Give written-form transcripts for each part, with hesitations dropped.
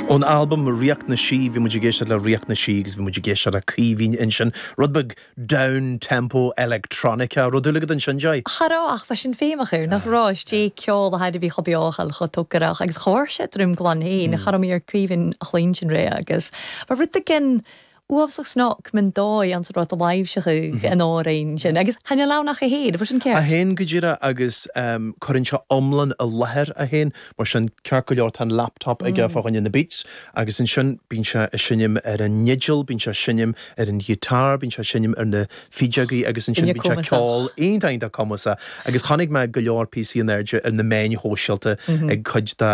Ón albam Ríocht na Sí, bhí muid ag éisteacht le Ríocht na Sí agus bhí muid ag éisteacht le Caoimhín ansin. Rud beag down tempo electronica. Raibh dúil agat ansin, Joy? Cha raibh ach bha sin feidhmeach air, nach raibh? Is dé ceol a thair a bhí chomh beochal, chomh tógarach agus chomh sé droim glan féin. Cha raibh mé ar Caoimhín a chluinstin ré agus bha rud éigin uafasach snoc min dóigh anns an rud a láimhseachadh an amhrain sin agus chan eil ann ach é féin, an bhfuil sin ceart? É féin go díreach agus cuireann sé iomlán i láthair é féin, mar sin ceart go leor tá an laptop aige fá choinne na beats agus ansin bíonn sé ag seinm ar an fhidil, bíonn sé ag seinm ar an ghiotár, bíonn sé ag seinm ar na fídeogaí agus ansin bíonn sé ag ceol iontach iontach cumasach agus chonaic mé go leor píosaí in airde ar na meáin shóisialta ag cuid de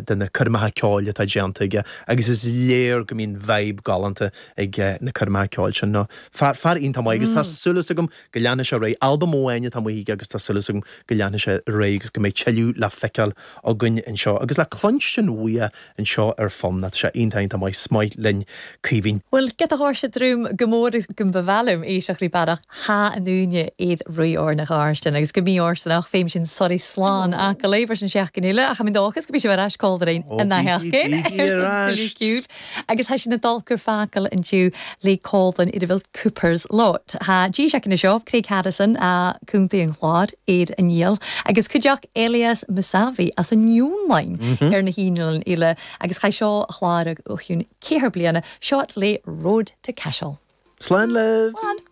de na coirmeacha ceoil atá déanta aige agus is léir go mbíonn vibe galánta ag na coirmeacha ceoil sin. No, fear, fear iontach maith agus tá súil agam go leanfaidh sé ar aghaidh. Albam amháin atá amuigh aige agus tá súil agam go leanfaidh sé ar aghaidh agus go mbeidh tuilleadh le feiceáil againn anseo agus le cluinstin uaidh anseo ar Fonn. Tá sé iontach iontach maith. 'S maith linn Caoimhín. Bhuel, giota dhóirse drúm go mór agus go mba mhaith liom éisteacht rí bearach Thá an dúine iad rí ár na gharstin agus go mbí ársanach féim sin sorry slán aca léifear sin seachtain eile ach i ndóchas go mbí sibh ar ais cóldrein Ó an bígí, sheachtain bígí ar ar son ais! Cuiúil agus thá sin ag dul gur facal intiú le Colvin ar a bhfuil Cooper's Lot. Thá G seachtaine seo Craig Harrison a contae an Chláir ar an Niall agus cuideachta Elias Mousavi as an Fhionlainn ar na hInnealra eile agus chaith seo a chlár ó chiúin ceathair bliana seo le Road to Cashel. Slán libh! Slán!